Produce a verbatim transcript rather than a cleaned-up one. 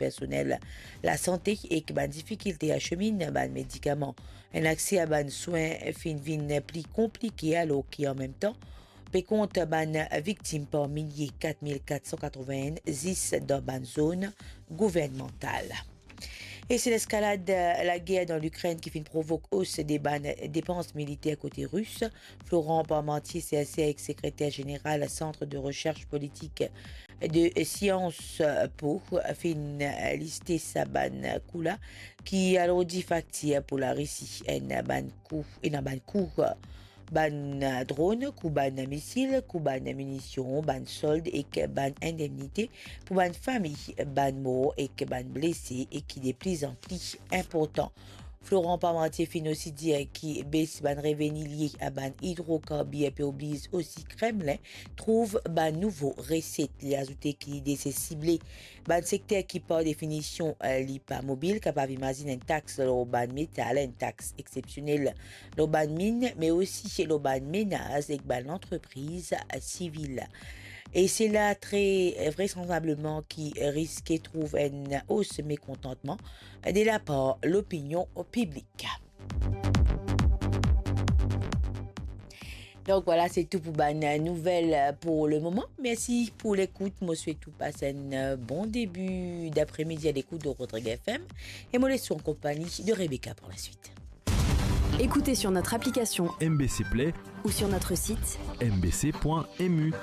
personel lasante ek bann difikilte asemin bann medikaman. Enn akse a bann swin finn vinn pli konplike, alor ki an mem tan, pe kont bann viktim par milie, kat mil kat san katrovin-enn, zis dan bann zone gouvernmantal. E se leskalad lager dan Likrenn ki finn provok os de bann depans militer kote Ris. Florent Parmentier, serser ek sekreter zeneral Centre de Recherche Politique de Sciences Po, finn liste sa bann kou la ki alourdi faktir pou Larisi, enn bann kou, ena bann kou bann dron, kou bann misil, kou bann minision, bann sold ek bann indemnite pou bann fami bann mor ek bann blese, e ki de pli an pli inportan. Florent Parmentier finn osi dir ki bes bann reveni lie a bann idrokarbir pe obliz osi Kremlin trouv bann nouvo reset. Li azoute ki li deside sible bann sekter ki, par definision, eh, li pa mobil, kapav imazinn enn tax lor bann metal, enn tax exepsionel lor bann min, me osi lor bann menaz ek bann lantrepriz, eh, sivil. E sela tre, eh, vraisanblableman ki riske trouv enn os mekontantman de lapar lopinion piblik. Donk vwala, se tou pou bann nouvel pou lemoman. Mersi pou lekout. Mo swet ou pas enn bon debi dapre-midi a lekout de Rodrigue F M. E mo les ou an konpagni de Rebecca pou laswit. Écoutez sur notre application M B C Play ou sur notre site M B C point M U.